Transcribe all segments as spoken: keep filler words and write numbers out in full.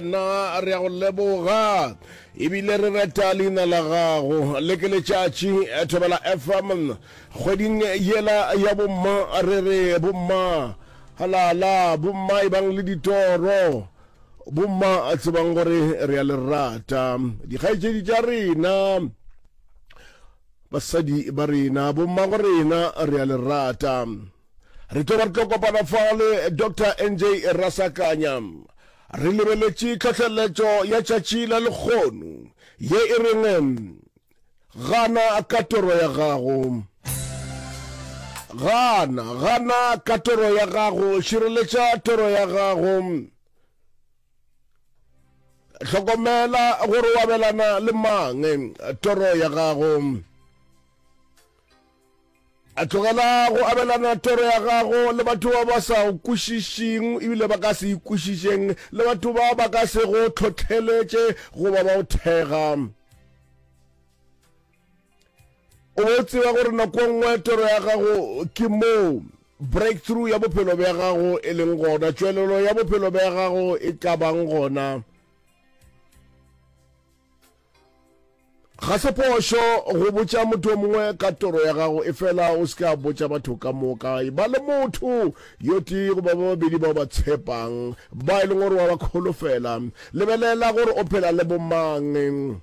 Morena, re a go leboga ebile re reta leina la gago. Le ke letšatši, Thobela F M, kgweding yela ya bomma, re re bomma, halala, bomma e bang le ditoro. Bomma, tsebang gore re a le rata. Dikgaetšedi tša rena, basadi ba rena, bommago rena, re a le rata. Re tlo ba re tlo kopana fa le Doctor N J Rasakanya. Re lebeletše tlhohleletšo ya tšatši la lekgono ye e reng gana ka toro ya gago. Gana, gana ka toro ya gago, šireletša toro ya gago. Hlokomela gore o abelana le mang toro ya gago. A tlogela go abelana toro ya gago le batho ba ba sa go kwešišeng ebile ba ka se ikwešišeng, le batho ba ba ka se go tlhohleletše goba ba o thega. O bo tseba gore nako nngwe toro ya gago ke moo breakthrough ya bophelo bja gago e leng gona, tšwelelo ya bophelo bja gago e tla bang gona. Ga se phošo go botša motho o mongwe ka toro ya gago, efela o se ke a botša batho ka moka. E ba le motho yo tee goba ba babedi bao ba tshepang, ba e leng gore wa ba kholofela. Lebelela gore o phela le bomang.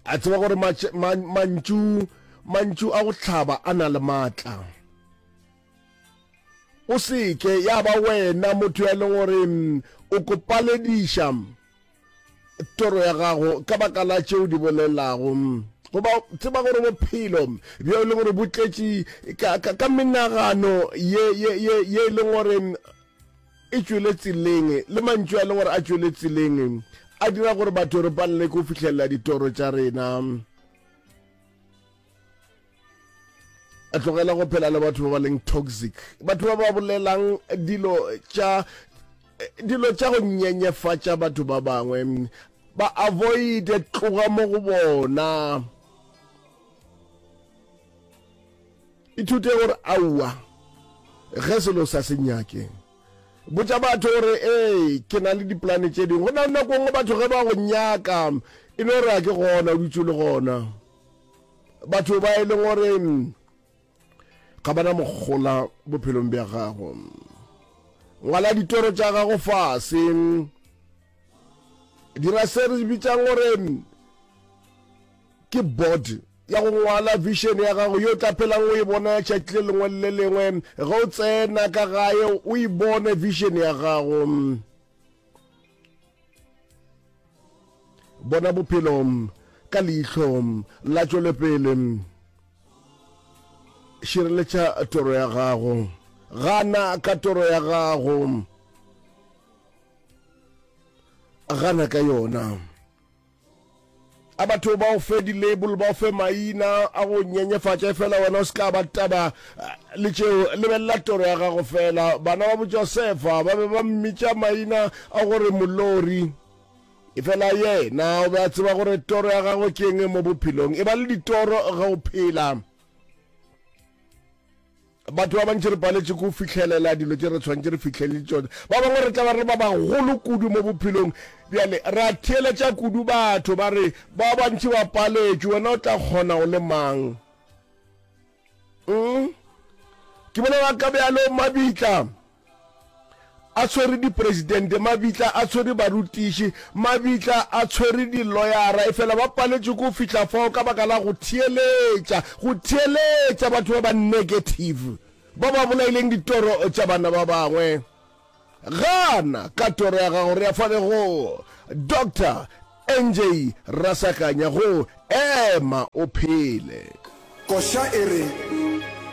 A tseba gore mantšu mantšu a go hlaba a na le maatla. O se ke ya ba wena motho ya leng gore o kopalediša toro ya gago ka baka la tšeo di bolelago. Goba tseba gore bophelo bjo e leng gore bo tletše ka, ka, ka menagano ye, ye, ye, ye e leng gore e tšwele tseleng, le mantšu a leng gore a tšwele tseleng, a dira gore batho re palele ke go fihlelela ditoro tša rena. A tlogela go phela le batho ba ba leng toxic, batho ba ba bolelang dilo tša dilo tša go nyenyefatša batho ba bangwe, ba avoid, tloga mo go bona. Ithute gore aowa ge selo sa se nyake. Botša batho gore ee ke na le diplane tše dingwe. Go na le nako nngwe batho ge ba go nyaka e no re a ke gona, o dutše o le gona. Batho ba e leng gore ga bana mogola bophelong bja gago. Ngwala ditoro tša gago fase. Dira se re bitsang gore ke board ya go ngwala vision ya gago yo tla phelang o e bona tšatši le lengwe le lengwe. Ge o tsena ka gae o e bone vision ya gago. Bona bophelo ka leihlo la tšwelepele. Šireletša toro ya gago. Gana ka toro ya gago. Gana ka yona. A batho ba o fe di-label, ba o fe maina a go nyenyefatša, fela wena o se ka ba taba le tšeo. Lebelela toro ya gago fela. Bana ba bo Josefa ba be ba mmitša maina a gore molori, efela yena o be a tseba gore toro ya gagwe ke eng mo bophelong. E ba le ditoro ge o phela. Batho ba bantši re paletše ko fihlelela dilo tše re tshwanetse re fihlelele tšona. Ba bangwe re tla ba re ba bagolo kudu mo bophelong bjale, ra theeletša kudu batho ba re ba bantši ba paletšwe, wena o tla kgona o le mang? Mm? Ke bolela ka bjalo mabitla a tshwere dipresidente, mabitla a tshwere barutiši, mabitla a tshwere diloyara, efela ba paletšwe ko fihla fao ka baka la go theeletša, go theeletša batho ba ba negative, ba ba bolaileng ditoro tša bana ba bangwe. Gana ka toro ya gago. Re ya fale go Doctor N J Rasakanya go ema o phele. Koša e re